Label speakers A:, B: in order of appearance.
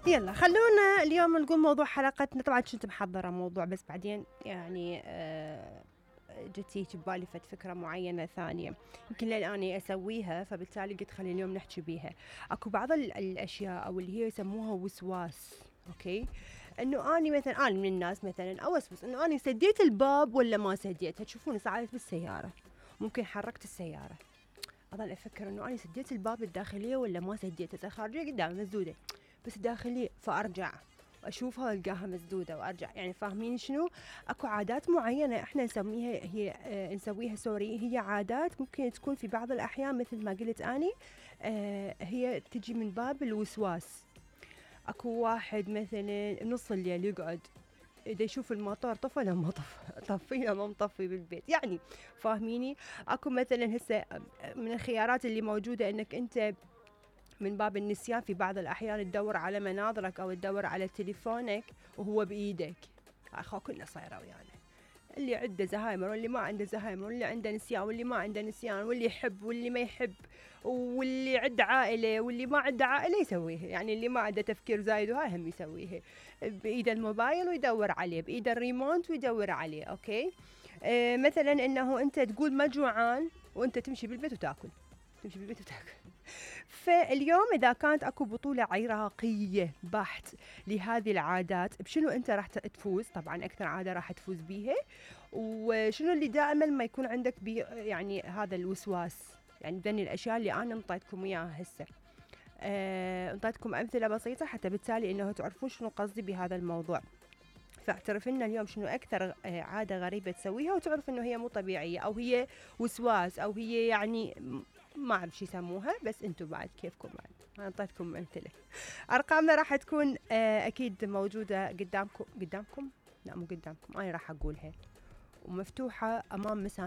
A: يلا خلونا اليوم نقول موضوع حلقتنا. طبعا كنت محضرة موضوع بس بعدين يعني جتي ببالي فكرة معينة ثانية يمكن لأني أسويها، فبالتالي قلت خلي اليوم نحكي بيها. أكو بعض الأشياء أو اللي هي يسموها وسواس. أوكي، إنه أنا مثلا أنا من الناس مثلا أوسوس إنه أنا سديت الباب ولا ما سديتها. تشوفوني ساعات بالسيارة ممكن حركت السيارة أظل أفكر إنه أنا سديت الباب الداخلية ولا ما سديتها. الخارجية قدام مسدودة بس داخلية، فأرجع وأشوفها وألقاها مسدودة وأرجع. يعني فاهمين شنو؟ أكو عادات معينة إحنا نسميها نسويها هي عادات ممكن تكون في بعض الأحيان مثل ما قلت أني هي تجي من باب الوسواس. أكو واحد مثلا نص الليل يقعد إذا يشوف الموتور طفى لا ما طفي لا ما مطفي بالبيت. يعني فاهميني؟ أكو مثلا هسه من الخيارات اللي موجودة إنك أنت من باب النسيان في بعض الأحيان تدور على مناظرك أو تدور على تليفونك وهو بإيدك. أخو كلنا صايرة ويانا، اللي عنده زهايمر واللي ما عنده زهايمر، واللي عنده نسيان واللي ما عنده نسيان، واللي يحب واللي ما يحب، واللي عنده عائلة واللي ما عنده عائلة يسويها. يعني اللي ما عنده تفكير زايد وهاي هم يسويها بإيد الموبايل ويدور عليه، بإيد الريموت ويدور عليه. أوكي، مثلا إنه أنت تقول ما جوعان وأنت تمشي بالبيت وتأكل، تمشي بالبيت وتأكل. فاليوم إذا كانت أكو بطولة عراقية بحت لهذه العادات، بشنو أنت راح تفوز؟ طبعا أكثر عادة راح تفوز بيها. وشنو اللي دائما ما يكون عندك يعني هذا الوسواس. يعني ذني الأشياء اللي أنا انطيتكم إياها هسه، انطيتكم أمثلة بسيطة حتى بالتالي إنه تعرفون شنو قصدي بهذا الموضوع. فاعترف لنا اليوم شنو أكثر عادة غريبة تسويها وتعرف إنه هي مو طبيعية أو هي وسواس أو هي يعني ما أعرف شو يسموها، بس أنتم بعد كيفكم بعد. أنا أعطيتكم أمثلة. أرقامنا راح تكون أكيد موجودة قدامكم لا مو قدامكم، أنا راح أقولها ومفتوحة أمام مسامعكم.